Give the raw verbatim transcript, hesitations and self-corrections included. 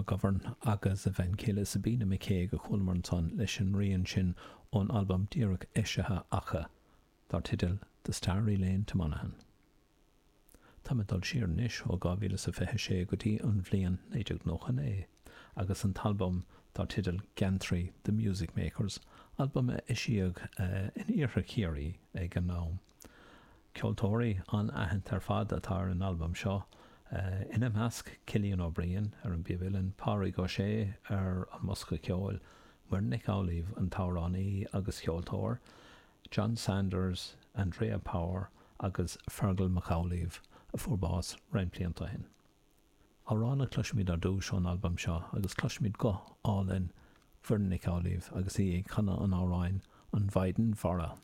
McGovern agus a bhean chéile Sabina McCague a chualamar ansan leis an rian sin ón albam díreach eisithe acu dar teideal The Starry Lane to Monaghan. Tá mé ag dul siar anois ó dhá mhíle is a fiche sé go dtí an bhliain naoi déag nócha naoi agus an t-albam dar teideal Geantraí, The Music Makers, albam a eisíodh in iarthar Chiarraí ag an am. Ceoltóirí an-aitheanta ar fad atá ar an albam seo, ina measc Cillian Ó Briain ar an bpíob uilleann, Pádraig Ó Sé ar an mbosca ceoil, Muireann Nic Amhlaoibh, an t-amhránaí agus ceoltóir, John Sanders, Andrea Power agus Fergal Mac Amhlaoibh, a fuair bás roinnt blianta ó shin. Amhrán a chloisfimid ar dtús ón albam seo agus cloisfimid guth álainn Mhuireann Nic Amhlaoibh agus í ag canadh an amhráin 'An Mhaighdean Mhara'.